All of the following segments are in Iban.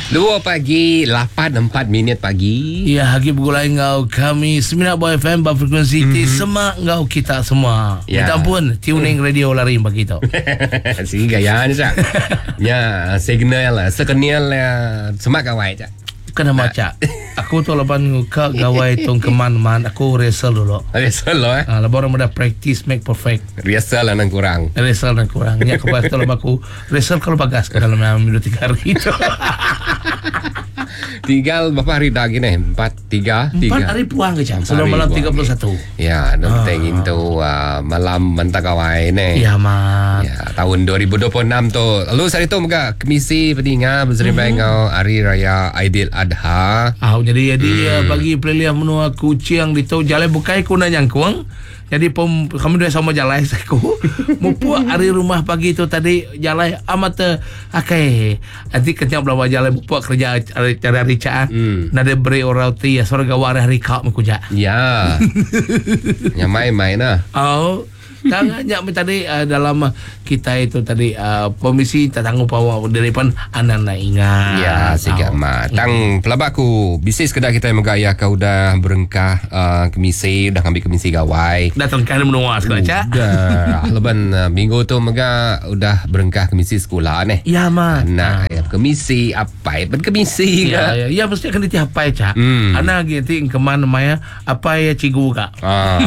Dua pagi, 8.04 minit pagi. Ya, agi begulai enggau kami Semina Boy FM ba frekuensi mm-hmm. ti semak enggau kita semua. Ya. Minta ampun, tuning mm. radio lari pagi tu. Sigi gaya ni, Cak. Ya, signal lah. Sekenil lah. Semak gawai, Cak. Kena maca. Aku tu laban nguka gawai tong keman man aku rehearsal dulu. Rehearsal lo eh. Ha, laban orang muda practice make perfect. Rehearsal lah nang kurang. Rehearsal nang kurang. Nya aku tu laban aku rehearsal kalau bagas ke dalam minggu tiga hari tu. Tinggal berapa hari dah gini? Empat, tiga, tiga. Empat hari puang ke cak. Sebelum malam 31. Ya, nak ah. itu uh, malam mentah gawai ni. Ya, mat. Ya, tahun 2026 tu. Lalu hari tu mega kemisi peninga berserimbai mm-hmm. enggau Hari Raya Aidil Adha. Ah, jadi jadi mm. bagi pelilihan menua Kuching di tu jalai bukai ku nak nyangkung. Jadi pom kami dua sama jalai saku. Mupuk hari rumah pagi tu tadi jalai amat te akai. Nanti kenyap belawa jalai mupuk kerja hari cari hari cak. Mm. Nada beri orang ti ya suara gawa hari hari kak mekuja. Ya. Nyamai main lah. Oh. Tang nya meh tadi uh, dalam uh, kita itu tadi uh, permisi tak tangguh pawa dari pan anak nak ingat. Ya, siga ma. Tang pelaba aku bisi sekeda kita mega ya ka udah berengkah uh, kemisi udah ngambil kemisi gawai. Dah terengkah di menua sekeda cak. Udah. Leban uh, minggu tu mega udah berengkah kemisi sekolah neh. Ya ma. Nah, ya kemisi apai ben kemisi ya, ya, ya mesti akan ditiapai cak. Hmm. Anak lagi ti keman maya Apai iya cikgu ka. Ah,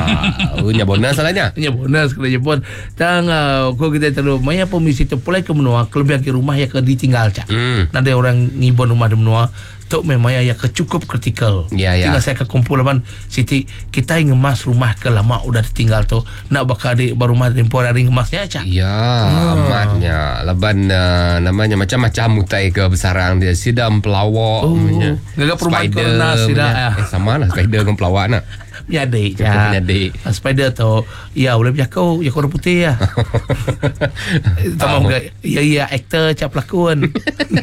nya bonus lah nya. Nya bonus kena jepun. Tang uh, ko kita terlalu maya permisi tu pulai ke menua kelebih ke rumah ya ke ditinggal cak. Mm. Nadai orang ngibun rumah di menua tu memang ya ke cukup kritikal. Ya, ya. Tinggal saya ke kumpul laban siti kita ngemas rumah ke lama udah ditinggal tu nak bakal di baru rumah tempoh hari ngemasnya cak. Ya, hmm. amatnya. Laban uh, namanya macam-macam utai ke besarang dia sidam pelawak. Oh. Ngaga perumahan corona sida. Eh sama lah spider dengan pelawak nak. Menyadi ja. Menyadi. Ah, spider tu ya boleh berjako, ya orang putih ya. Tambah uh, ya ya aktor cap pelakon.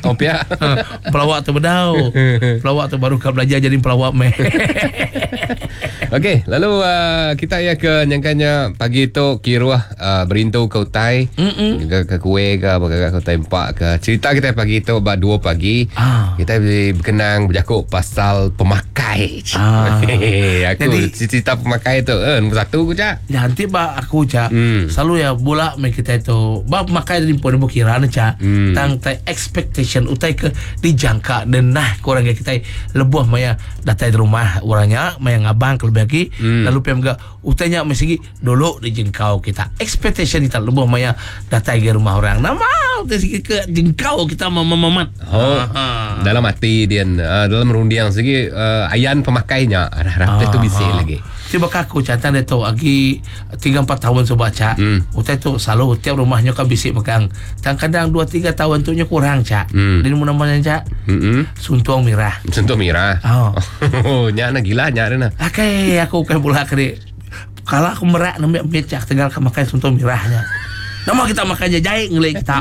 Oh pia. Ha, pelawak tu bedau. Pelawak tu baru kau belajar jadi pelawak meh. Okey, lalu uh, kita ya ke nyangkanya pagi tu kiruh uh, berintu ke utai ke, ke kuih ke apa ke ke utai empak ke cerita kita pagi tu ba 2 pagi ah. kita berkenang berjakuk pasal pemakai ah. aku jadi cerita pemakai tu eh nombor satu ku cak ya, nanti ba aku cak hmm. selalu ya bola me kita itu ba pemakai dari pun kira cak hmm. tang tai expectation utai ke dijangka dan nah kurang kita lebuh maya datai di rumah orangnya maya ngabang ke lebih lagi hmm. lalu pem ga Utai nya meh sigi dulu dijengkau kita. Expectation kita lebuh maya datai agi rumah orang. Nama utai sigi ke jengkau kita mememat. Oh, dalam ati dian, uh, dalam runding sigi uh, ayan pemakai nya harap tu bisi lagi. Ti baka aku cantang diatu agi tiga empat tahun suba cha. Hmm. Utai tu selalu tiap rumah nya ka bisi megang. Tang kadang dua tiga tahun tu nya kurang cha. Hmm. Dia nemu nama nya cha. Hmm. Suntung mirah. Suntung mirah. Oh. Oh, nya na gila nya na. Akai aku ukai bula keri. Kala aku merak nembiak mit cak tegal ke makai suntung mirah nya. Nama kita makai nya jai ngeli kita.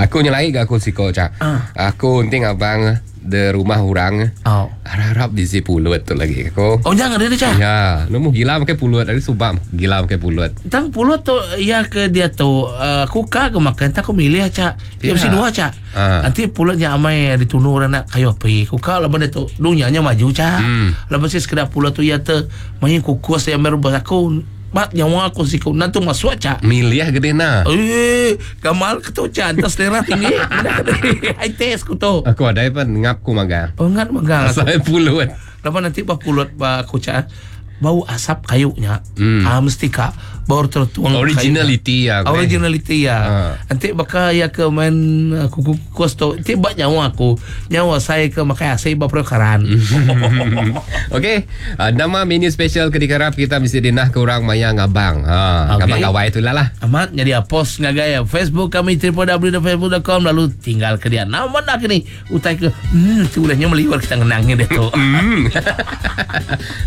Aku nyelai ga aku siko cak. Uh. Aku enti ngabang de rumah orang. Oh. Harap bisi pulut tu lagi aku. Oh jangan dia cak. Ya, nemu gila makai pulut dari subak gila makai pulut. Tang pulut tu ya ke dia tu uh, aku ka ke makan tak aku milih cak. Dia mesti dua cak. Ah. Enti pulut nya amai ditunu orang nak kayu api. Ku ka laban ditu dunya nya maju cha. Hmm. Laban si sekeda pulut tu iya te main kukus iya amai rebus aku ba nyawa aku siku nan tu masuk cha. Milih gede na. Eh, gamal ke tu cha enta selera tinggi. High taste ku tu. Aku adai pan ngap ku magang. Oh ngat magang aku. Asal pulut. Laban enti ba pulut ba aku cha bau asap kayu nya hmm. ah mesti ka bau tertuang originality ya originality ya ha. Enti baka ya ke main eh, kuku kukus tu enti ba nyawa aku nyawa saya ke makai asi ba perkaran okey uh, nama menu special ke dikarap kita mesti dinah ke orang maya ngabang ha okay. ngabang gawai tu lah lah amat jadi post ngagai Facebook kami www.facebook.com lalu tinggal ke dia nama nak ni utai ke hmm tu ulahnya meliwar kita ngenangnya dia tu hmm.